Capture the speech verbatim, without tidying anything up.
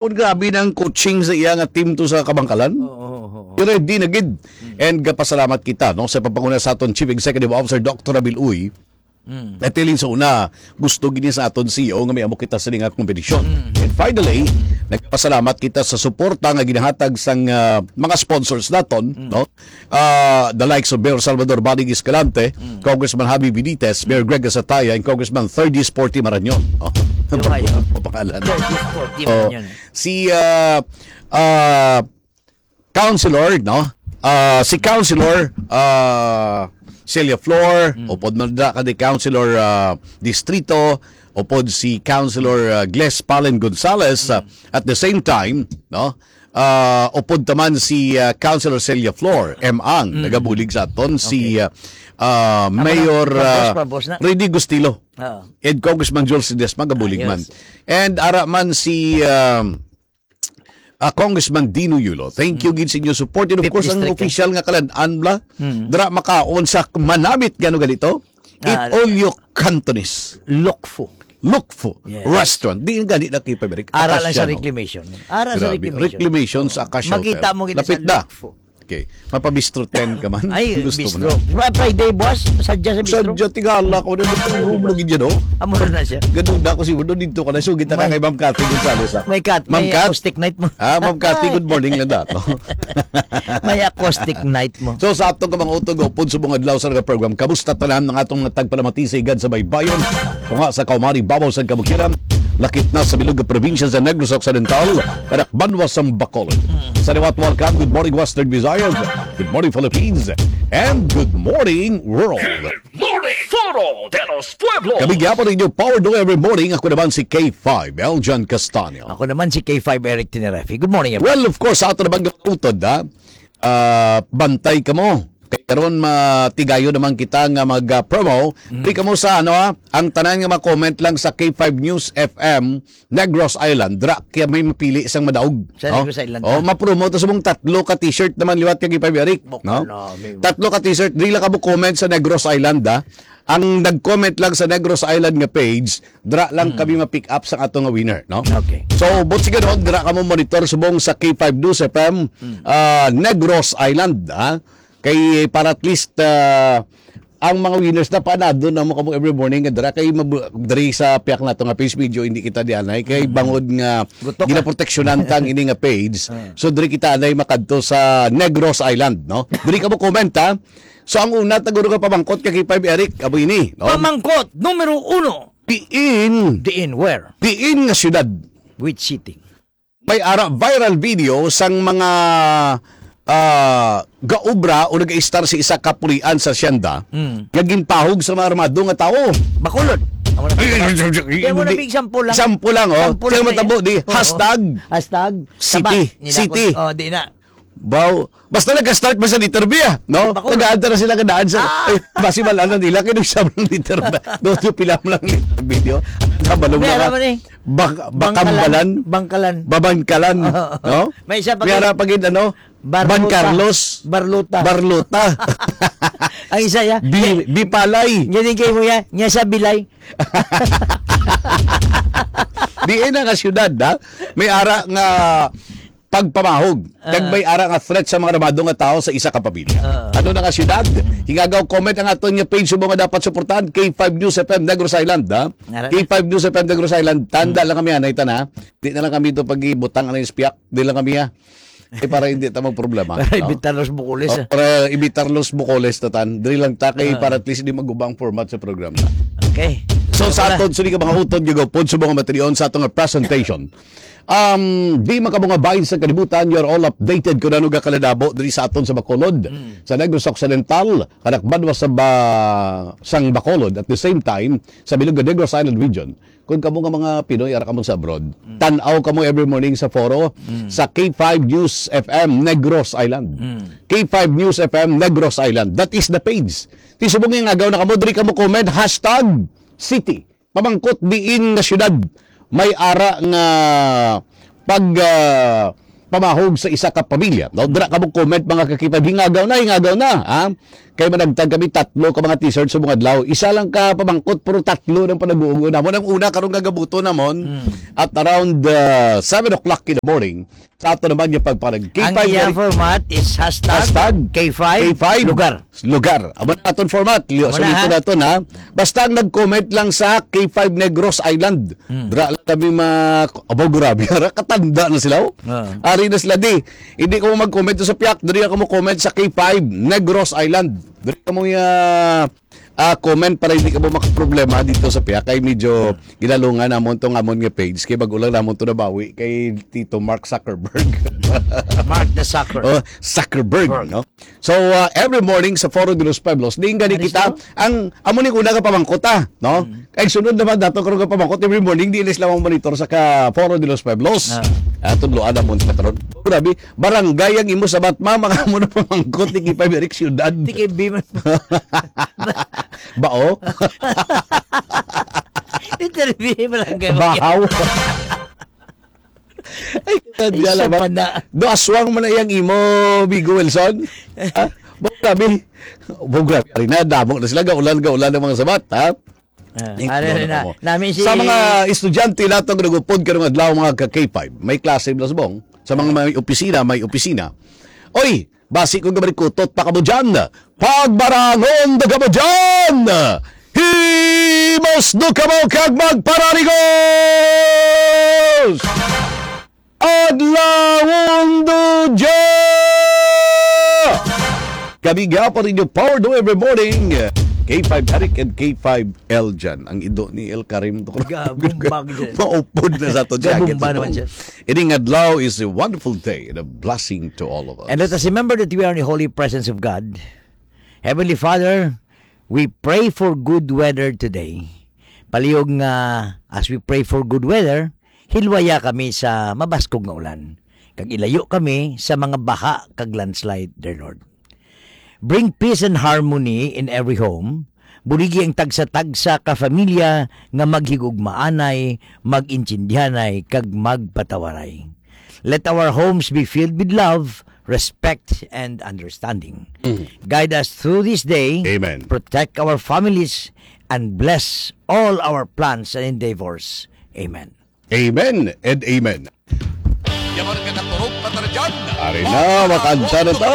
Kung grabe ng coaching sa iya nga team to sa Kabangkalan. Oo, oo, oo. Pero di na gid. Mm. And gapasalamat kita, no, sa pagpanguna sa aton Chief Executive Officer, Doctor Abil Uy. Mm. At ilin sa una, gusto gini sa aton C E O nga may amo kita sa nga kompetisyon. Mm. And finally, nagpasalamat kita sa suporta nga ginahatag sang, ah, mga sponsors naton, Mm. no? Ah, the likes of Mayor Salvador Baling Escalante, Mm. Congressman Javi Benitez, Mayor Greg Asataya, and Congressman Thirdy Sporty Marañon. Oh, Yung ayo. Ang pangalan. Thirdy Sporty Oh, Marañon. Si, ah, ah, Councilor, no? Ah, si Councilor, ah, Celia Flor, Mm. upod man da ka ni Councilor, ah, Distrito, upod si Councilor, ah, Gles Palen Gonzales, ah, Mm. at the same time, no? Ah, upod taman si, ah, Councilor Celia Flor, M. Ang, Mm. nagabulig sa aton, si, Okay. ah, ah, Amo na, Mayor, pabos, ah, pabos na. Freddy Gustilo. Oo. And Congressman Jules Ledesma, gabulig Ayos. man. And ara man si, um, ah, Congressman Dino Yulo. Thank you Mm. gid sa inyo support. And of Fifth course, ang District, eh. official nga kalan-an bla, Mm. dira makaon sa manamit gano ganito. It Ah, all you Cantonese. Lokfo. Lokfo Yes. Restaurant. Di gani na kay Pabrik. Ara lang sa Acacia, no? reclamation. Ara sa Grabe. reclamation. Reclamation sa Oo. Acacia Makita Hotel. mo gid sa Lapit na. Lokfo. Okay. Mapabistro ten ka man. Ay, Gusto mo bistro. na. Diba, Friday, boss? Sadya sa bistro? Sadya, tingala ko na. Ito yung room lagi dyan, oh. Amo na siya. Ganun na ako siguro dito ka na. So, kita ka May kay Ma'am Cathy Gonzalez, ah. May cat, Ma'am may Cat? acoustic night mo. Ah, Ma'am Cathy, Ay. good morning lang dato. May acoustic night mo. So, sa atong kamangutog, upod sa mga adlaw sa nga program, kamusta tanan ang atong mga tagpalamati sa Igad sa Baybayon? Tunga sa Kaumari, babaw sa Kabukiran, lakip na sa bilog nga probinsya sa Negros Occidental, kanak banwa sang Bacolod. Mm. Sa liwat, welcome. Good morning, Western Visayas. Good morning, Philippines. And good morning, world. Morning, Foro de los Pueblos. Kami gyapon ninyo, Power Do Every Morning. Ako naman si K five, Eljan Castaño. Ako naman si K five, Eric Tinerefi. Good morning, everyone. Well, of course, sa ato na bang utod, ha? Ah, bantay kamo. Kay karon matigayon naman kita nga mag, ah, promo. Mm. Di kamo sa, ano, ha? Ang tanan nga ma-comment lang sa K five News F M, Negros Island, dra kaya may mapili sang madaog, Sa no? Negros Island, Oh, ah. ma-promote sa mong tatlo ka t-shirt naman liwat kay K five Eric, Bukal no? na, may Tatlo ka t-shirt, di lang ka mo comment sa Negros Island, ah. Ang nag-comment lang sa Negros Island nga page, dra lang Hmm. kami ma-pick up sa ato nga winner, no? Okay. So, but sige, no, dra ka mo monitor subong sa K five News F M, Hmm. ah, Negros Island, ah. Kay para at least, ah, ang mga winners na panado na mo kamo every morning nga dira kay mabu-, diri sa piyak nato nga page medyo hindi kita dianay kay Mm. bangod nga Gutok ka. ginaproteksyonan ta ang ini nga page. Mm. So diri kita anay makadto sa Negros Island, no? Diri ka mo comment, ha? So ang una taguro nga pamangkot kay K five Eric, abo ini, no? Pamangkot numero uno. Diin, Diin, where? diin nga syudad Which city? May ara viral video sang mga, ah, gaobra o nag-istar sa isa ka pulian sa asyenda Mm. nga ginpahog sa mga armado nga tawo. Bacolod. Amo na. Ay, ay, ay, ay, ay, Kaya mo na hindi. big sample lang. Sample lang, oh. Sample Kaya lang matabo yan. di, Oo. hashtag Hashtag city. Taba. Nila City. ko- Oh, di na. Baw, basta nagka-start ba sa letter B, ah, no? Bacolod. Nag-aantara sila kadaan sa, Ah. eh, basi malanan nila, kaya nagsabi ng letter B. Doon yung pila mo lang letter B, no? Ang kabalo Hindi, na alam ka. mo ni. Bak-, Bangkalan. Bakambalan. Bangkalan. Babangkalan. Oo. No? May isa pa May kay ara pa gid, ano? Barlota. Ban Carlos. Barlota. Barlota. Ang isa ya. Bi-, Bipalay. Yan yung kayo mo ya. Niya sa Bilay. Di na nga syudad, ha? May ara nga pagpamahog. Ah. Kag may ara nga threat sa mga armado nga tao sa isa ka pamilya. Ah. Ano na nga syudad? Hingagaw comment ang aton nga page subong nga dapat suportahan, K five News F M Negros Island, ha? Ara na. K five News F M Negros Island, tanda Hmm. lang kami, anay ta na. Di na lang kami ito pag-ibutang, ano yung spiak. Di lang kami, ha? Eh, para hindi ta magproblema, Para no? evitar los bukulis, Oh, ah. para evitar los bukulis, tatan. Dili lang ta kay Ah. para at least di magubang format sa programa. Okay. So, Wala. sa aton, sini ka mga utod, gagawpod sa mga materion sa atong presentation. Um, di makamungabahin sa kalibutan, you're all updated kung ano ga kaladabo diri sa aton sa Bacolod, Mm. sa Negros Occidental, kanak banwa sa ba-, sang Bacolod, at the same time, sa bilog nga Negros Island region. Kung kamo nga mga Pinoy, ara kamo sa abroad, Mm. tan-aw kamo every morning sa Foro, Mm. sa K five News F M Negros Island. Mm. K five News F M Negros Island. That is the page. Ti subong nga agaw na kamo, diri kamo comment, hashtag city. Pamangkot diin nga syudad may ara nga pag, ah, pamahog sa isa ka pamilya. No, dira ka mo comment, mga ka-K five, hingagaw na, hingagaw na, ha? Kay managtag kami tatlo ka mga t-shirt sa mga adlaw. Isa lang ka pamangkot, pero tatlo nang panaguon namon. Ang una karon nga gabuto namon at around uh, seven o'clock in the morning. Sa ato naman yung pagpanag Ang K five iya nga format is hashtag Hashtag K five K five. Lugar. Lugar. Amo na aton format. Liyo, Amo na, suliton ha? naton, ha? Basta ang nag-comment lang sa K five Negros Island. Hmm. Dra lang kami ma... Abo, grabe. Ara, katanda na sila, oh. Oo. Ari na sila, di. Hindi ka mo mag-comment sa piyak. Diri ka mo comment sa K five Negros Island. Diri ka mo, ah, ah, comment para hindi ka mo makaproblema dito sa piyak. Kay medyo ginalungan namon tong amon nga page. Kay bago lang namon to nabawi kay Tito Mark Zuckerberg. Mark the Zucker. Oh, Zuckerberg, Berg. no? So, uh, every morning sa Foro de los Pueblos, diin gani Ano kita, siya? ang amo ni una ka pamangkot, ah, no? Mm. Kay sunod naman dato karon ka pamangkot, every morning di na sila monitor sa ka Foro de los Pueblos. Ah. Ah, tudloan na mo sila karon. Grabe, barangay ang imo sa Batma, mga amo na pamangkot ni Kipay Eric Syudad. Di kay Biman. Bao? Interview mo lang kayo. Bahaw. Ay, Ay, kadya siya lang ba? pa na. Do aswang man na iyang imo, Bigo Wilson? Ha? Bo, grabe. Bo, grabe. Ari na, damo na sila. Gaulan, gaulan ang mga sabat, ha? Ah, Tingnan ano na, mo. nami si Sa mga estudyante nato nga nagupod karong adlaw, mga ka K five, may klase, Blasbong. Sa mga may opisina, may opisina. Oy, basi ko gabarikutot pa kamo dyan. Pagbarangon da kamo dyan! Himos do kamo kag magpararigos! Adlawon do dya! Kami nga pa rin yung Power Do Every Morning. K five Eric and K five Eljan. Ang ido ni El Karim to. Gabumbag dyan. Maupod na sa to siya. Gabumba Gets naman mo? siya. Ining adlaw is a wonderful day and a blessing to all of us. And let us remember that we are in the holy presence of God. Heavenly Father, we pray for good weather today. Palihog nga, as we pray for good weather, hilwaya kami sa mabaskog nga ulan, kag ilayo kami sa mga baha kag landslide, dear Lord. Bring peace and harmony in every home. Buligi ang tagsa-tagsa ka familya nga maghigugmaanay, mag-intindihanay, kag magpatawaray. Let our homes be filled with love, respect, and understanding. Mm. Guide us through this day. Amen. Protect our families and bless all our plans and endeavors. Amen. Amen and amen. Yaman ka naturog pa tara dyan. Ari na, makanta na to.